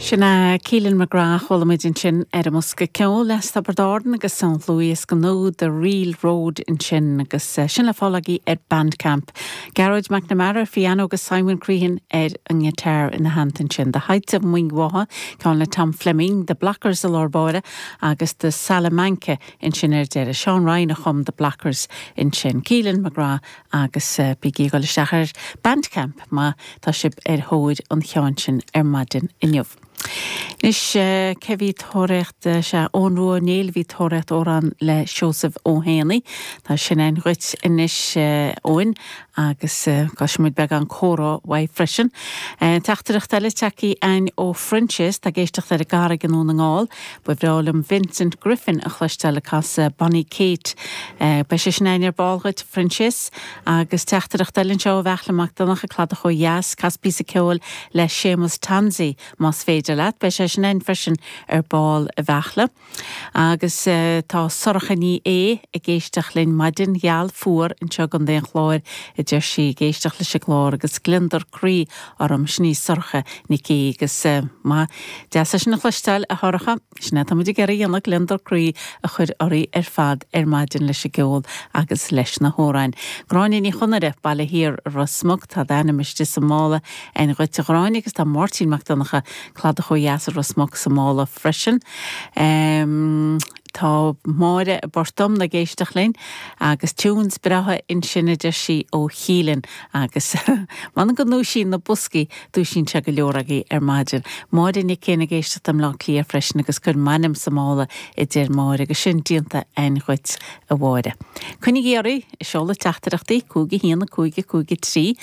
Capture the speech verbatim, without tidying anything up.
Sin Keelan McGrath chuala muid ansin ar an mbosca ceoil le Tiobraid Árann agus Saint Louis go nó The Real Road ansin agus sin le fáil agaibh ar Bandcamp. Gearóid McNamara piano agus Simon Crehan ar an ngiotár ina theannta sin. The Heights of Muing Mhacha ceann le Tom Fleming, The Blockers i lár báire agus The Salamanca ansin ar deireadh. Sean Ryan a chum The Blockers ansin. Keelan McGrath agus uh, bígí ag dul isteach ar Bandcamp má tá sibh ar thóir an cheann sin ar maidin inniu. Anois uh, cé bhí tóraíocht sé ón Rua Néil bhí tóraíocht amhrán le Seosamh Ó Héanaí Tá sin againn dhuit anois uh, óin agus uh, muid beagán comhrá uaidh freisin. Uh, Teachtaireacht eile tagtha againn ó Francis tá ag éisteacht ar an gCarraig i nDún na nGall, ba bhreá liom Vincent Griffin a chloisteáil ag casadh Bonnie Kate. Uh, Beidh sé sin againn ar ball dhuit Francis agus teachtaireacht eile anseo ó Bheachla Mac Donncha Cladach ó dheas cas píosa ceoil le Séamus Tansey más féidir leat, beidh sé sin againn freisin ar ball a Bheachla. Agus uh, tá Sorcha Ní é ag éisteacht linn maidin gheal fuar anseo i gContae an Chláir a deir sí ag éisteacht leis an gclár agus gliondar croí orm sin í Sorcha Nic É agus uh, má deas sin a chloisteáil a Shorcha sin tá muid ag iarraidh gliondar croí a chur oraibh ar fad ar maidin leis an gceol agus leis na hamhráin. Gráinne Ní Chonaire Baile Thiar Ros Muc tá d'ainm istigh sa mála againn dhuit a Ghráinne agus tá Máirtín Mac Donncha Cladach ó dheas Ros Muc sa mála freisin. Um, Tá Máire Bortom ag éisteacht linn agus tunes breátha ansin a deir sí ó Keelan agus man go ndúisíonn na boscaí dúisíonn sé go leor agaibh ar maidin. Máire Nic cé ag éisteacht i mBaile Átha Cliath freisin agus cuir m'ainm sa mála a deir Máire agus sin déanta againn dhuit a Mháire. Coinnigí oraibh seoladh teachtaireachtaí cúig a haon cúig cúig trí